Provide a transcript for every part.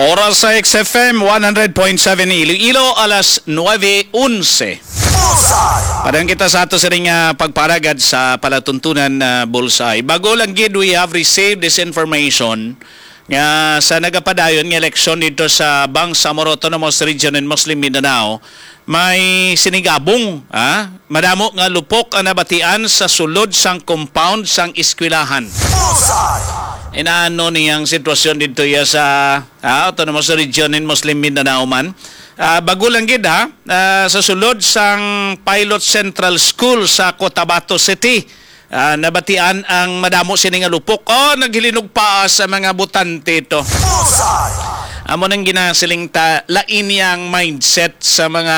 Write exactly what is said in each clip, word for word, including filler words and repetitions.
Oras sa X F M one hundred point seven Iloilo, alas nuebe onse. Padang kita sa ato sining, ah, pagparagad sa palatuntunan na Bullseye. Bago lang gid, we have received this information nga sa nagapadayon nga eleksyon dito sa Bangsamoro Autonomous Region in Muslim Mindanao, may sinigabong, ha? Madamo nga lupok ang nabatian sa sulod sang compound sang eskwelahan. Inaano niyang sitwasyon dito iya sa, ah, Autonomous Region in Muslim Mindanao man. Ah, bago lang gid, ha, ah, sa sulod sang Pilot Central School sa Cotabato City, ah, nabatian ang madamo sini nga lupok. Oh, naghilinugpaas sa mga botante ito. Amo nang ginasiling ta, lain yang mindset sa mga,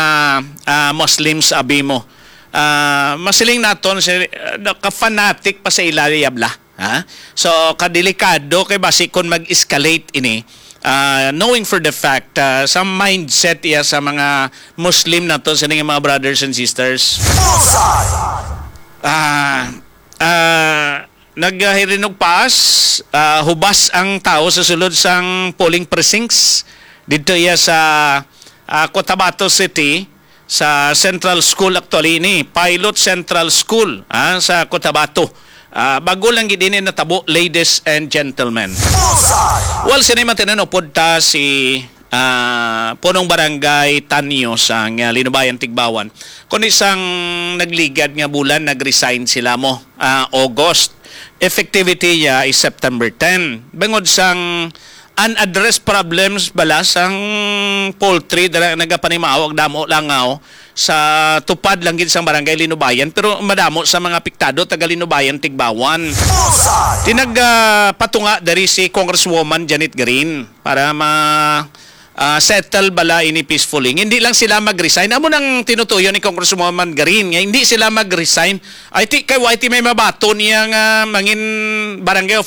ah, Muslims, abi mo. Ah, masiling naton si, ah, ka-fanatic pa sa ila, yabla. Ha? So, kadelikado kay basi kung mag-escalate ini, ah, knowing for the fact, ah, sa mindset iya sa mga Muslim nato, sa mga brothers and sisters. Ah, ah, naghirinugpaas, ah, hubas ang tao sa sulod sang polling precincts dito iya sa, ah, Cotabato City, sa Central School actually ini, Pilot Central School, ah, sa Cotabato. Ah, bago lang gid ini natabo, ladies and gentlemen. Well, sini man tinanupod ta si, ah, Punong Barangay Tanyo sa nga Linubayan Tigbawan. Kundi sang nagligad nga bulan, nag-resign sila mo, ah, August. Effectivity niya is September ten. Bangod sang unaddressed problems bala sang poultry dira nagapanimaw ag damo langaw sa tupad lang gid sang barangay Linubayan, pero madamo sa mga apektado taga Linubayan, Tigbawan. Tinag, ah, patunga diri si Congresswoman Janet Green para ma, ah, settle bala ini peacefully. Hindi lang sila mag-resign. Amo nang tinutuyo ni Congresswoman Green nga hindi sila mag-resign. Ay, ti, kay, wa, ti may mabaton niya nga mangin barangay